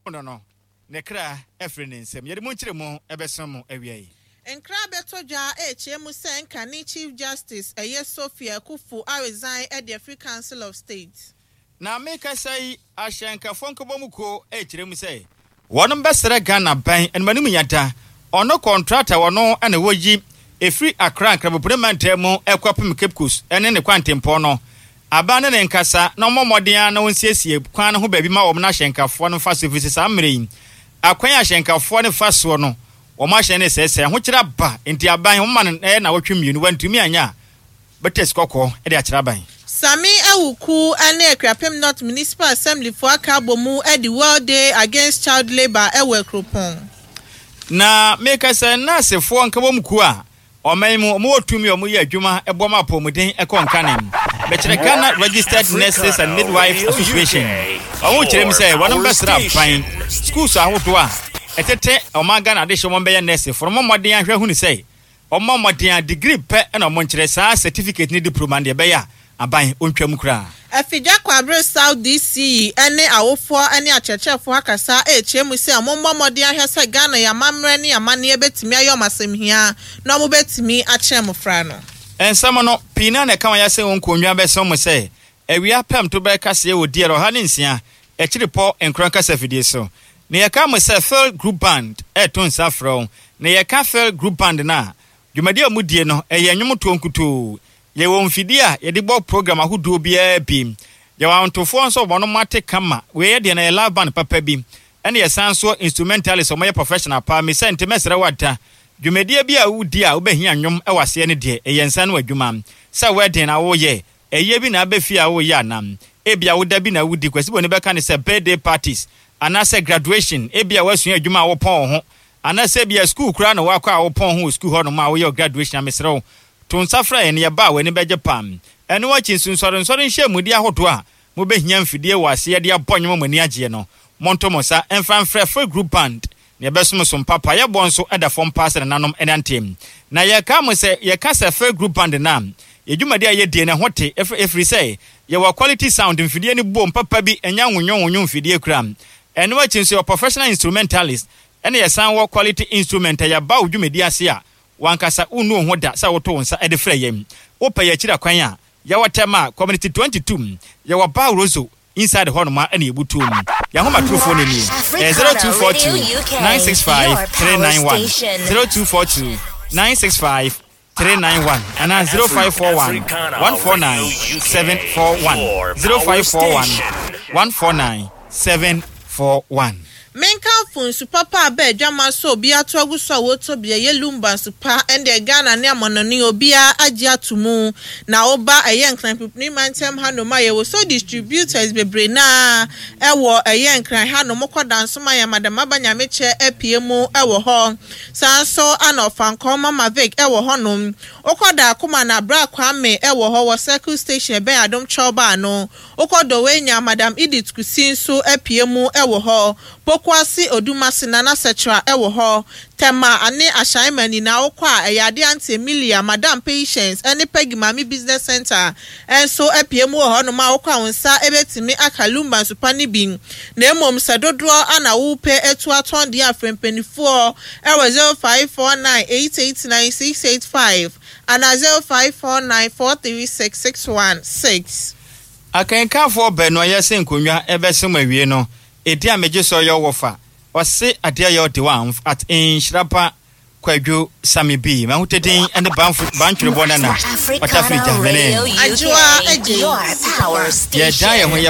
No no, ne kra afiri ne nsam. Yɛde mu nkyerɛmu bɛsom mo awia yi. Nkra bɛtɔ dwa rekyerɛ mu sɛ nkane Chief Justice ɛyɛ Sophia Akuffo aresign de afiri Council of State. Na mekasa yi, ahyɛnkafoɔ nkabɔmu kuo rekyerɛ mu sɛ wɔnom bɛsrɛ Ghana ban animanim yada, ɔno kɔntrata ɔno na wɔyi ɛfiri Accra Nkrabopene mantam mu kɔpem Cape Coast ne ne kwantempɔn no. Aban ne ne nkasa na wɔmmɔ mmɔden ara na wɔnsiesie kwan no ho baabi ma wɔn na ahyɛnkafoɔ no mfa so ɛfiri sɛ saa mmerɛ yi akwan a ahyɛnkafoɔ no fa soɔ no wɔn ahyɛn no resɛesɛe, ahokyerɛ aba nti aban wɔma no ɛyɛ nnawɔtwe mmienu wantumi anyɛ a bɛtɛ sikɔkɔɔ de akyerɛ aban. Sammy Awuku ne Akuapem North Municipal Assembly foɔ aka abɔ mu adi World Day Against Child Labour wɔ Akuropɔn. Na meka sɛ nɛɛsefoɔ nkabom kuo a ɔman yi mu wɔwɔ tumi a wɔyɛ adwuma boa ma apɔwmuden kɔ nkane. Mekyerɛ Ghana Registered Nurses and Midwives Association. Wɔn kyerɛ mu sɛ wɔn bɛsrɛ aban schools ahodoɔ a ɛtete ɔman Ghana adehye wɔn bɛyɛ nɛɛsefoɔ no wɔmmɔ mmɔden ahwɛ ahunu sɛ Wɔmmɔ mmɔden a, degree pɛ na wɔnkyerɛ, saa certificate ne diploma no deɛ ɛbɛyɛ a aban ɔntwa mu koraa. Afigya Kwabre South DC yi ne awofoɔ ne akyerɛkyerɛfoɔ akasa rekyerɛ mu sɛ wɔmmɔ mmɔden ahwɛ sɛ Ghana yɛn amammerɛ ne amanneɛ bɛtumi ayɛ wɔn asɛmhia na wɔbɛtumi akyerɛ mmofra no. Nsɛm no, pii no ara na ɛka wɔn ayɛ sɛ wɔn nkonnwa bɛsɛn wɔn sɛ awia pɛm to bɛyɛ kaseɛ wɔ DL 106 akyiripɔ nkron kasafidie so. Na yɛka mo sɛ Phil Group Band reto nsa frɛ wo. Na yɛka Phil Group Band no a, dwumadi a wɔdie no, ɛyɛ nnwomtoɔ nkutoo. Yɛwɔ mfidie a yɛde bɔ program ahodoɔ biara bi. Yɛwɔ ahontofoɔ nso a wɔn ate kama. Wei yɛ deɛ no ɛyɛ live band papa bi. Ɛna yɛsan nso instrumentalist a wɔyɛ professional paa. Me sɛ nti mɛsrɛ wo ada. Dwumadie bi a wodi a wobɛhia nnwom wɔ aseɛ no deɛ, ɛyɛ nsa ano adwuma. Sɛ wedding na woyɛ, Ɛyɛ bi na aba fie a woreyɛ anaa? Ebia wo da bi na wudi, Kwasi Boni bɛka no sɛ birthday parties, anaasɛ graduation, ebia woasua adwuma a wopɔn wo ho, anaasɛ ebia sukuu koraa na woakɔ a wopɔn ho wɔ sukuu hɔnom a woyɛ wo graduation a, mesrɛ wo, to nsa frɛ yɛn na yɛba a w'ani bɛgye paa. Ɛno akyi nso, nsɔrensɔre nhyiamudi ahodoɔ a mobɛhia mfidie wɔ aseɛ de abɔ nnwom a mo ani agyeɛ no, monto mo nsa mfa mfrɛ Free Group Band Na yɛbɛsom som papa. Yɛbɔ nso da fam paa sɛ nananom nante. Na yɛka mo sɛ yɛka sɛ Fair Group Band no a, yɛn dwumadi a yɛdie no ɛho te ɛfiri sɛ yɛwɔ quality sound mfidie no bom papa bi ɛnyɛ nwonwonwonwo mfidie kura. Ɛno akyi nso yɛwɔ professional instrumentalist ɛna yɛsan wɔ quality instrument a yɛba wo dwumadi ase a wankasa wonnu wo ho da sɛ woto wo nsa de frɛ yɛn. Wopɛ yɛn akyiri akwan a, yɛwɔ Tema, Community 22, yɛwɔ Bar Rosso, Inside hɔ nom a ɛna yɛbutuo mu. Yɛn ahomatorofoɔ no nie. Ɛyɛ 0242 965 391, 0242 965 391 anaa 0541 149 741, 0541 149 741. Menkamfo nsu papa a bɛ adwaman so a obiara ato agu so a wɔtɔ bi ɛyɛ Lumba nsu pa ɛndeɛ Ghana ne amanɔne obiara agye ato mu na woba ɛyɛ Nkran Pipini mantam hanom a yɛwɔ so distributors bebree no ara ɛwɔ ɛyɛ Nkran hanom wokɔ Dansoman a Madam Aba Nyamekyɛ apue mu ɛwɔ hɔ saa nso ana Ɔfankɔɔ Mama Vic ɛwɔ hɔnom wokɔ Daakoma na Bra Kwame ɛwɔ hɔ wɔ Circle Station ɛbɛn Adom Kyɛw Bar no Wokɔ Dɔwenya, Madam Edith Kusi nso apue mu wɔ hɔ. Pokuase, Odumase, Nana Sɛkyerɛ wɔ hɔ. Tema ne Ashaiman nyinaa wokɔ a, ɛyɛ adeɛ Auntie Emilia, Madam Patience ne Peggy Maame Business Centre nso apue mu wɔ hɔnom a wokɔ a wo nsa bɛtumi aka Lumba nsupa no bi. Na mmom sɛ dodoɔ na wopɛ atu atɔn deɛ a frɛ mpaninfoɔ wɔ 0549 889 685 anaa 0549 436 616. Akenkanfoɔ baanu a yɛse nkonnwa ɛbɛsom awie no, edin a megye so yɛ wɔfa, ɔse adeɛ yɛ ɔde wa at nhyira pa Kwadwo Sami B. M'ahotɛ din ne Banfo Bantwerebɔ Nana Ɔtafiri Gya mene. Adwoa Adjei Sikapa. Yɛdan yɛn ho yɛ.